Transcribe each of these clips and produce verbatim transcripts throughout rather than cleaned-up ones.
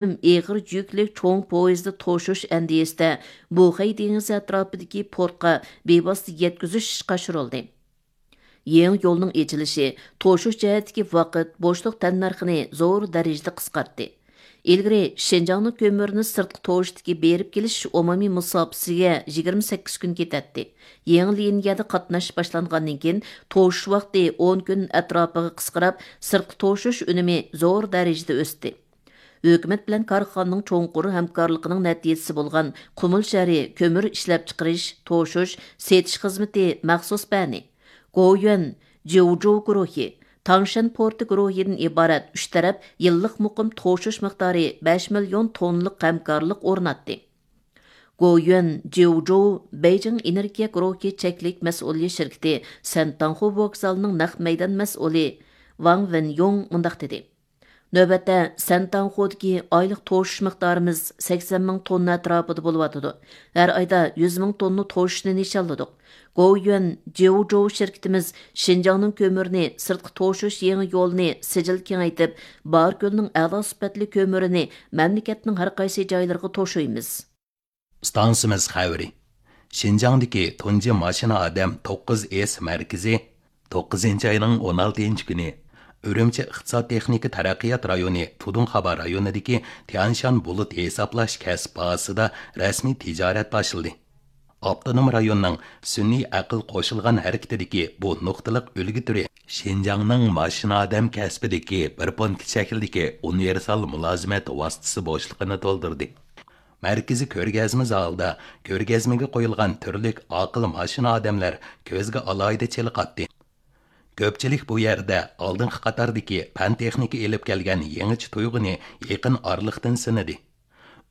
ئېغىر يۈكلۈك چوڭ پويىزدا توشۇش ئەندىزىسىدە بۇخەي دېڭىزى ئەتراپىدىكى پورتقا بىۋاسىتە يەتكۈزۈش ئىشقا ئاشۇرۇلدى. يېڭى يولنىڭ ئېچىلىشى توشۇش جەھەتتىكى ۋاقىت بوشلۇق تەننەرخىنى زور دەرىجىدە قىسقارتتى. ئىلگىرى شىنجاڭنىڭ كۆمۈرىنى سىرتقا توشۇشتىكى بېرىپ كېلىش ئومۇمىي مۇساپىسىگە يىگىرمە سەككىز كۈن كېتەتتى. يېڭى لىنىيەدە قاتناش باشلانغاندىن كېيىن، توشۇش ۋاقتى ئون كۈن ئەتراپىغا قىسقىراپ، سىرتقا توشۇش ئۈنۈمى زور دەرىجىدە ئۆستى. ھۆكۈمەت بىلەن كارخانىنىڭ چوڭقۇر ھەمكارلىقىنىڭ نەتىجىسى بولغان قۇمۇل شەھىرى كۆمۈر ئىشلەپچىقىرىش، توشۇش، سېتىش خىزمىتى مەخسۇس بەنى، گويۈەن جيۇجۇ گۇرۇھى، تاڭشەن پورتى گۇرۇھىدىن ئىبارەت ئۈچ تەرەپ يىللىق مۇقىم توشۇش مىقدارى بەش مىليون توننىلىق ھەمكارلىق ئورناتتى. گويۈەن جيۇجۇ بېيجىڭ ئېنېرگىيە گۇرۇھى چەكلىك مەسئۇلىيەت شىركىتى سەنتاڭخۇ ۋوگزالىنىڭ نەق مەيدان مەسئۇلى ۋاڭ ۋېنيوڭ مۇنداق دېدى: نۆۋەتتە سەنتاڭخۇدىكى ئايلىق توشۇش مىقدارىمىز سەكسەن مىڭ توننا ئەتراپىدا بولۇۋاتىدۇ. ھەر ئايدا يۈز مىڭ توننا توشۇشنى نىشانلىدۇق. گوۋيۈەن جيۇجۇ شىركىتىمىز شىنجاڭنىڭ كۆمۈرىنى سىرتقا توشۇش يېڭى يولىنى سىجىل كېڭەيتىپ، باركۆلنىڭ ئەلا سۈپەتلىك كۆمۈرىنى مەملىكەتنىڭ ھەر قايسى جايلىرىغا توشۇيمىز. ئىستانسىمىز خەۋىرى. شىنجاڭدىكى تۇنجى ماشىنا ئادەم توققۇز ئېس مەركىزى توققۇزىنچى ئاينىڭ ئون ئالتىنچى كۈنى ئۈرۈمچى ئىقتىساد تېخنىكا تەرەققىيات رايونى تۇدۇڭخابا رايونىدىكى تيانشان بۇلۇت ھېسابلاش كەسىپ بازىسىدا رەسمىي تىجارەت باشلىدى. ئاپتونوم رايوننىڭ سۈنئىي ئەقىل قوشۇلغان ھەرىكىتىدىكى بۇ نۇقتىلىق ئۈلگە تۈرى شىنجاڭنىڭ ماشىنا ئادەم كەسپىدىكى بىر پونكىت شەكلىدىكى ئۇنىۋېرسال مۇلازىمەت ۋاسىتىسى بوشلۇقىنى تولدۇردى. مەركىزىي كۆرگەزمە زالىدا كۆرگەزمىگە قويۇلغان تۈرلۈك ئاقىل ماشىنا ئادەملەر كۆزگە ئالاھىدە چېلىقاتتى. كۆپچىلىك بۇ يەردە ئالدىنقى قاتاردىكى پەن تېخنىكا ئېلىپ كەلگەن يېڭىچە تۇيغۇنى يېقىن ئارىلىقتىن سىنىدى.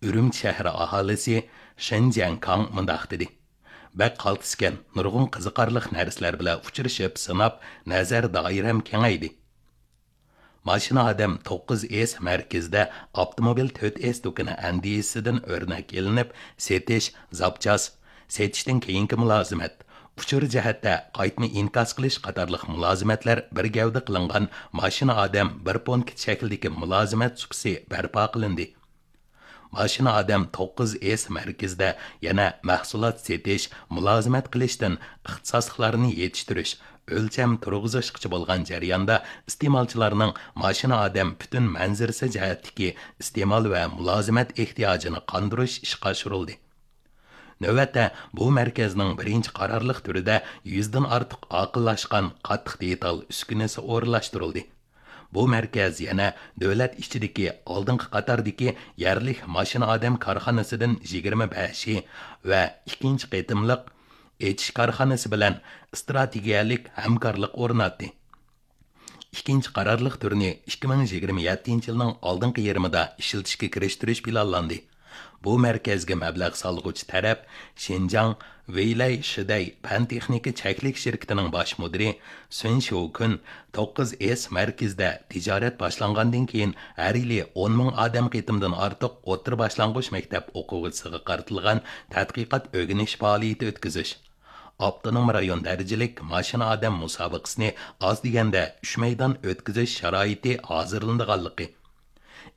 ئۈرۈمچى شەھىرى ئاھالىسى شېن جيەنكاڭ مۇنداق دېدى: بەك قالتىسكەن، نۇرغۇن قىزىقارلىق نەرسىلەر بىلەن ئۇچرىشىپ، سىناپ، نەزەر دائىرەم كېڭەيدى. ماشىنا ئادەم توققۇز ئېس مەركىزىدە ئاپتوموبىل تۆت ئېس دۇكىنى ئەندىزىسىدىن ئۆرنەك ئېلىنىپ، سېتىش، زاپچاس، سېتىشتىن كېيىنكى مۇلازىمەت، ئۇچۇر جەھەتتە قايتما ئىنكاس قىلىش قاتارلىق مۇلازىمەتلەر بىر گەۋدە قىلىنغان ماشىنا ئادەم بىر پونكىت شەكلىدىكى مۇلازىمەت سۇپىسى بەرپا قىلىندى. ماشىنا ئادەم توققۇز ئېس مەركىزىدە يەنە مەھسۇلات سېتىش، مۇلازىمەت قىلىشتىن ئىختىساسلىقلارنى يېتىشتۈرۈش، ئۆلچەم تۇرغۇزۇشقىچە بولغان جەرياندا ئىستېمالچىلارنىڭ ماشىنا ئادەم پۈتۈن مەنزىرىسى جەھەتتىكى ئىستېمال ۋە مۇلازىمەت ئېھتىياجىنى قاندۇرۇش ئىشقا ئاشۇرۇلدى. نۆۋەتتە بۇ مەركەزنىڭ بىرىنچى قارارلىق تۈرىدە يۈزدىن ئارتۇق ئاقىللاشقان قاتتىق دېتال ئۈسكۈنىسى ئورۇنلاشتۇرۇلدى. بۇ مەركەز يەنە دۆلەت ئىچىدىكى ئالدىنقى قاتاردىكى يەرلىك ماشىنا ئادەم كارخانىسىدىن يىگىرمە بەشى ۋە ئىككىنچى قېتىملىق ئېچىش كارخانىسى بىلەن ئىستراتېگىيەلىك ھەمكارلىق ئورناتتى. ئىككىنچى قارارلىق تۈرنى ئىككى مىڭ يىگىرمە يەتتىنچى يىلنىڭ ئالدىنقى يېرىمىدا ئىشلىتىشكە كىرىشتۈرۈش پىلانلاندى. بۇ مەركەزگە مەبلەغ سالغۇچى تەرەپ شىنجاڭ ۋېيلەي شىدەي پەن تېخنىكا چەكلىك شىركىتىنىڭ باش مۇدىرى سۈن شيۇكۈن توققۇز ئېس مەركىزىدە تىجارەت باشلانغاندىن كېيىن، ھەر يىلى ئون مىڭ ئادەم قېتىمدىن ئارتۇق ئوتتۇرا باشلانغۇچ مەكتەپ ئوقۇغۇچىسىغا قارىتىلغان تەتقىقات ئۆگىنىش پائالىيىتى ئۆتكۈزۈش، ئاپتونوم رايون دەرىجىلىك ماشىنا ئادەم مۇسابىقىسىنى ئاز دېگەندە ئۈچ مەيدان ئۆتكۈزۈش شارائىتى ھازىرلىنىدىغانلىقى،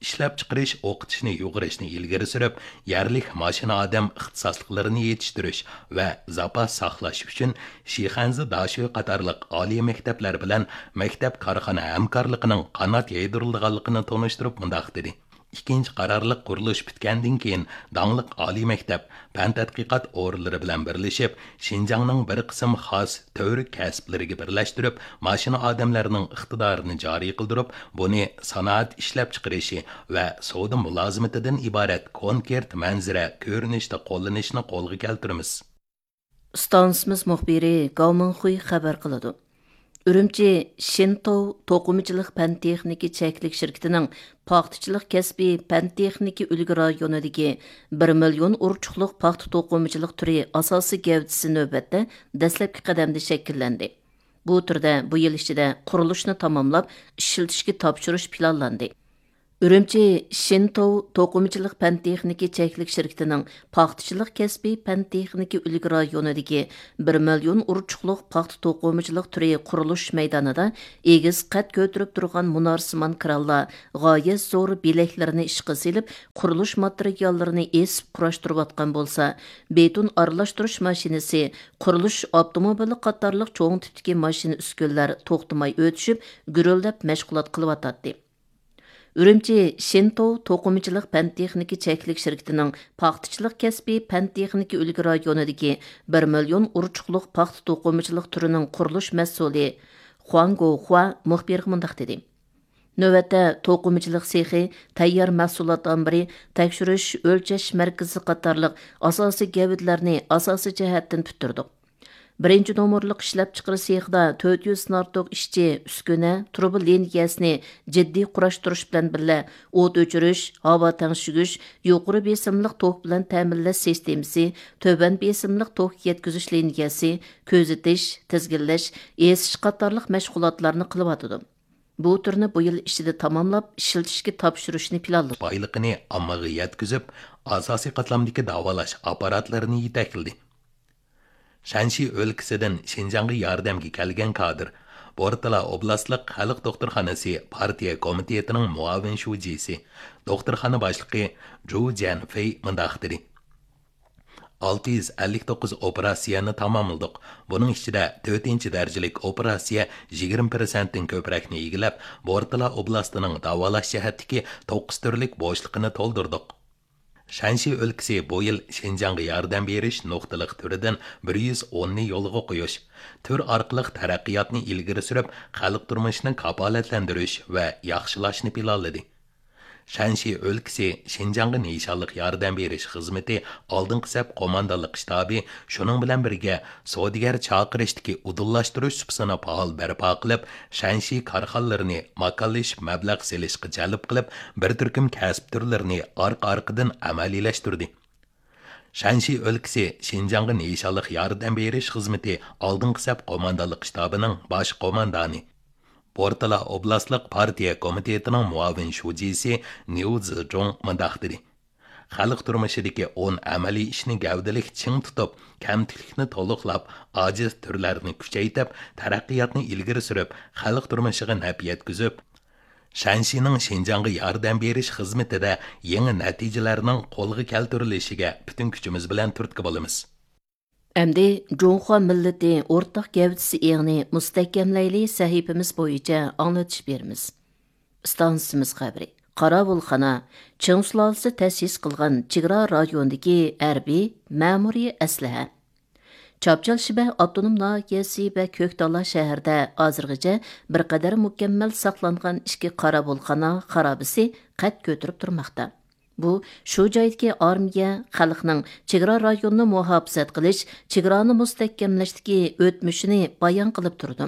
ئىشلەپچىقىرىش، ئوقۇتۇشنى يۇغۇرۇشنى ئىلگىرى سۈرۈپ، يەرلىك ماشىنا ئادەم ئىختىساسلىقلىرىنى يېتىشتۈرۈش ۋە زاپاس ساقلاش ئۈچۈن شىخەنزە داشۆ قاتارلىق ئالىي مەكتەپلەر بىلەن مەكتەپ كارخانا ھەمكارلىقىنىڭ قانات يايدۇرۇلىدىغانلىقىنى تونۇشتۇرۇپ مۇنداق دېدى: ئىككىنچى قارارلىق قۇرۇلۇش پۈتكەندىن كېيىن، داڭلىق ئالىي مەكتەپ، پەن تەتقىقات ئورۇنلىرى بىلەن بىرلىشىپ، شىنجاڭنىڭ بىر قىسىم خاس تۈۋرۈك كەسىپلىرىگە بىرلەشتۈرۈپ، ماشىنا ئادەملەرنىڭ ئىقتىدارىنى جارى قىلدۇرۇپ، بۇنى سانائەت ئىشلەپچىقىرىشى ۋە سودا مۇلازىمىتىدىن ئىبارەت كونكرېت مەنزىرە كۆرۈنۈشتە قوللىنىشنى قولغا كەلتۈرىمىز. ئىستانسىمىز مۇخبىرى گاۋ مىڭخۇي خەۋەر قىلىدۇ. ئۈرۈمچى شىنتوۋ توقۇمىچىلىق پەن تېخنىكا چەكلىك شىركىتىنىڭ پاختىچىلىق كەسپى پەن تېخنىكا ئۈلگە رايونىدىكى بىر مىليون ئۇرچۇقلۇق پاختا توقۇمىچىلىق تۈرى ئاساسىي گەۋدىسى نۆۋەتتە دەسلەپكى قەدەمدە شەكىللەندى. بۇ تۈردە بۇ يىل ئىچىدە قۇرۇلۇشنى تاماملاپ، ئىشلىتىشكە تاپشۇرۇش پىلانلاندى. ئۈرۈمچى شىنتوۋ توقۇمىچىلىق پەن تېخنىكا چەكلىك شىركىتىنىڭ پاختىچىلىق كەسپىي پەن تېخنىكا ئۈلگە رايونىدىكى بىر مىليون ئۇرچۇقلۇق پاختا توقۇمىچىلىق تۈرى قۇرۇلۇش مەيدانىدا ئېگىز قەد كۆتۈرۈپ تۇرغان مۇنارسىمان كرانلار غايەت زور بېلەكلىرىنى ئىشقا سېلىپ، قۇرۇلۇش ماتېرىياللىرىنى ئېسىپ قۇراشتۇرۇۋاتقان بولسا، بېتون ئارىلاشتۇرۇش ماشىنىسى، قۇرۇلۇش ئاپتوموبىلى قاتارلىق چوڭ تىپتىكى ماشىنا ئۈسكۈنىلەر توختىماي ئۆتۈشۈپ، گۈرۈلدەپ مەشغۇلات قىلىۋاتاتتى. ئۈرۈمچى شىنتوۋ توقۇمىچىلىق پەن تېخنىكا چەكلىك شىركىتىنىڭ پاختىچىلىق كەسپىي پەن تېخنىكا ئۈلگە رايونىدىكى بىر مىليون ئۇرچۇقلۇق پاختا توقۇمىچىلىق تۈرىنىڭ قۇرۇلۇش مەسئۇلى خۇاڭ گوخۇا مۇخبىرغا مۇنداق دېدى: نۆۋەتتە توقۇمىچىلىق سېخى، تەييار مەھسۇلات ئامبىرى، تەكشۈرۈش، ئۆلچەش مەركىزى قاتارلىق ئاساسىي گەۋدىلەرنى ئاساسىي جەھەتتىن پۈتتۈردۇق. بىرىنچى نومۇرلۇق ئىشلەپچىقىرىش سېخىدا تۆت يۈز نارتوك ئىشچى، ئۈسكۈنە، تۇرۇبا لىنىيەسىنى جىددىي قۇراشتۇرۇش بىلەن بىللە، ئوت ئۆچۈرۈش، ھاۋا تەڭشىگۈچ، يۇقىرى بېسىملىق توك بىلەن تەمىنلەش سىستېمىسى، تۆۋەن بېسىملىق توك يەتكۈزۈش لىنىيەسى، كۆزىتىش، تىزگىنلەش، ئېسىش قاتارلىق مەشغۇلاتلارنى قىلىۋاتىدۇ. بۇ تۈرنى بۇ يىل ئىچىدە تاماملاپ، ئىشلىتىشكە تاپشۇرۇشنى پىلانلىدۇق. بايلىقىنى ئاممىغا يەتكۈزۈپ، ئاساسىي قاتلامدىكى داۋالاش ئاپپاراتلىرىنى يېتەكلىدى. شەنشى ئۆلكىسىدىن شىنجاڭغا ياردەمگە كەلگەن كادىر، بورتالا ئوبلاستلىق خەلق دوختۇرخانىسى پارتىيە كومىتېتىنىڭ مۇئاۋىن شۇجىسى، دوختۇرخانا باشلىقى جۇ جيەنفېي مۇنداق دېدى: ئالتە يۈز ئەللىك توققۇز ئوپېراتسىيەنى تاماملىدۇق. بۇنىڭ ئىچىدە تۆتىنچى دەرىجىلىك ئوپېراتسىيە يىگىرمە پىرسەنتتىن كۆپرەكنى ئىگىلەپ، بورتالا ئوبلاستىنىڭ داۋالاش جەھەتتىكى توققۇز تۈرلۈك بوشلۇقىنى تولدۇردۇق. شەنشى ئۆلكىسى بۇ يىل شىنجاڭغا ياردەم بېرىش نۇقتىلىق تۈرىدىن بىر يۈز ئوننى يولغا قويۇش، تۈر ئارقىلىق تەرەققىياتنى ئىلگىرى سۈرۈپ، خەلق تۇرمۇشىنى كاپالەتلەندۈرۈش ۋە ياخشىلاشنى پىلانلىدى. شەنشى ئۆلكىسى شىنجاڭغا نىشانلىق ياردەم بېرىش خىزمىتى ئالدىنقى سەپ قوماندانلىق شتابى شۇنىڭ بىلەن بىرگە سودىگەر چاقىرىشتىكى ئۇدۇللاشتۇرۇش سۇپىسىنى پائال بەرپا قىلىپ، شەنشى كارخانىلىرىنى ماكانلىشىپ مەبلەغ سېلىشقا جەلپ قىلىپ، بىر تۈركۈم كەسىپ تۈرلىرىنى ئارقا-ئارقىدىن ئەمەلىيلەشتۈردى. شەنشى ئۆلكىسى شىنجاڭغا نىشانلىق ياردەم بېرىش خىزمىتى ئالدىنقى سەپ قوماندانلىق شتابىنىڭ باش قوماندانى، بورتالا ئوبلاستلىق پارتىيە كومىتېتىنىڭ مۇئاۋىن شۇجىسى نيۇ زىجۇڭ مۇنداق دېدى: خەلق تۇرمۇشىدىكى ئون ئەمەلىي ئىشنى گەۋدىلىك چىڭ تۇتۇپ، كەمتۈكلۈكنى تولۇقلاپ، ئاجىز تۈرلەرنى كۈچەيتىپ، تەرەققىياتنى ئىلگىرى سۈرۈپ، خەلق تۇرمۇشىغا نەپ يەتكۈزۈپ، شەنشىنىڭ شىنجاڭغا ياردەم بېرىش خىزمىتىدە يېڭى نەتىجىلەرنىڭ قولغا كەلتۈرۈلۈشىگە پۈتۈن كۈچىمىز بىلەن تۈرتكە بولىمىز. ئەمدى جۇڭخۇا مىللىتى ئورتاق گەۋدىسى ئېڭىنى مۇستەھكەملەيلى سەھىپىمىز بويىچە ئاڭلىتىش بېرىمىز. ئىستانسىمىز خەۋىرى. قاراۋۇلخانا، چىڭ سۇلالىسى تەسىس قىلغان چېگرا رايونىدىكى ھەربىي مەمۇرىي ئەسلىھە. چاپچال شىبە ئاپتونوم ناھىيەسى ۋە كۆكتالا شەھىرىدە ھازىرغىچە بىر قەدەر مۇكەممەل ساقلانغان ئىككى قاراۋۇلخانا خارابىسى قەد كۆتۈرۈپ تۇرماقتا. بۇ شۇ جايدىكى ئارمىيە خەلقنىڭ چېگرا رايونىنى مۇھاپىزەت قىلىش، چېگرانى مۇستەھكەملەشتىكى ئۆتمۈشىنى بايان قىلىپ تۇرىدۇ.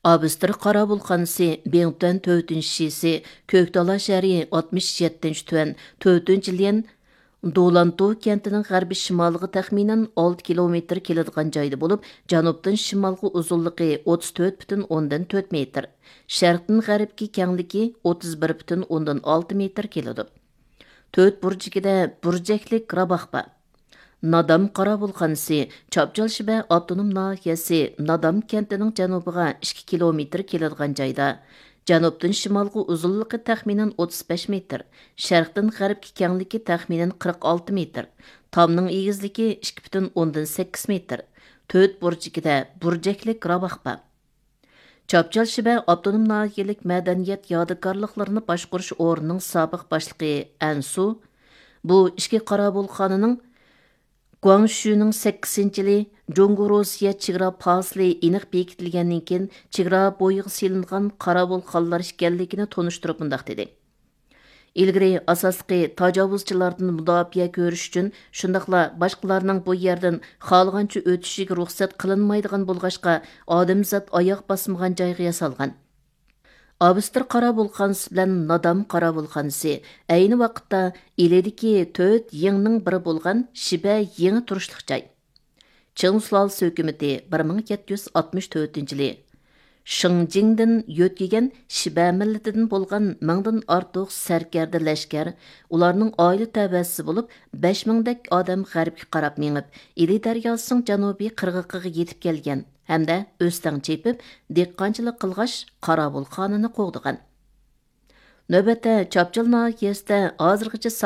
ئابستر قاراۋۇلخانىسى بىڭتۈەن تۆتىنچى شىسى، كۆكتالا شەھىرى ئاتمىش يەتتىنچى تۈەن تۆتىنچى ليەن دولانتۇ كەنتىنىڭ غەربىي شىمالىغا تەخمىنەن ئالتە كىلومېتىر كېلىدىغان جايدا بولۇپ، جەنۇبتىن شىمالغا ئۇزۇنلۇقى ئوتتۇز تۆت پۈتۈن ئوندىن تۆت مېتىر، شەرقتىن غەربكە كەڭلىكى ئوتتۇز بىر پۈتۈن ئوندىن ئالتە مېتىر كېلىدۇ. تۆت بۇرجىكىدە بۇرجەكلىك راباق بار. نادام قاراۋۇلخانىسى چاپچال شىبە ئاپتونوم ناھىيەسى نادام كەنتىنىڭ جەنۇبىغا ئىككى كىلومېتىر كېلىدىغان جايدا، جەنۇبتىن شىمالغا ئۇزۇنلۇقى تەخمىنەن ئوتتۇز بەش مېتىر، شەرقتىن غەربكە كەڭلىكى تەخمىنەن قىرىق ئالتە مېتىر، تامنىڭ ئېگىزلىكى ئىككى پۈتۈن ئوندىن سەككىز مېتىر، تۆت بۇرجىكىدە بۇرجەكلىك راباق بار. چاپچال شىبە ئاپتونوم ناھىيەلىك مەدەنىيەت يادىكارلىقلىرىنى باشقۇرۇش ئورنىنىڭ سابىق باشلىقى ئەنسۇ، بۇ ئىككى قاراۋۇلخانىنىڭ گۇاڭشۈنىڭ سەككىزىنچى يىلى جۇڭگو روسىيە چېگرا پاسىلى ئېنىق بېكىتىلگەندىن كېيىن، چېگرا بويىغا سېلىنغان قاراۋۇلخانىلار ئىكەنلىكىنى تونۇشتۇرۇپ مۇنداق دېدى: ئىلگىرى ئاساسلىقى تاجاۋۇزچىلاردىن مۇداپىئە كۆرۈش ئۈچۈن، شۇنداقلا باشقىلارنىڭ بۇ يەردىن خالىغانچە ئۆتۈشىگە رۇخسەت قىلىنمايدىغان بولغاچقا، ئادەمزات ئاياغ باسمىغان جايغا ياسالغان. ئابستر قاراۋۇلخانىسى بىلەن نادام قاراۋۇلخانىسى ئەينى ۋاقىتتا ئىلىدىكى تۆت يىڭنىڭ بىرى بولغان شىبە يىڭى تۇرۇشلۇق جاي. چىڭ سۇلالىسى ھۆكۈمىتى بىر مىڭ يەتتە يۈز ئاتمىش تۆتىنچى يىلى شىڭجىڭدىن يۆتكىگەن شىبە مىللىتىدىن بولغان مىڭدىن ئارتۇق سەركەردە لەشكەر، ئۇلارنىڭ ئائىلە تەۋەسى بولۇپ، بەش مىڭدەك ئادەم غەربكە قاراپ مېڭىپ، ئىلى دەرياسىنىڭ جەنۇبىي قىرغىقىغا يېتىپ كەلگەن ھەمدە ئۆستەڭ چېپىپ، دېھقانچىلىق قىلغاچ، قاراۋۇلخانىنى قوغدىغان. نۆۋەتتە، چاپچال ناھىيەسىدە ھازىرغىچە ساق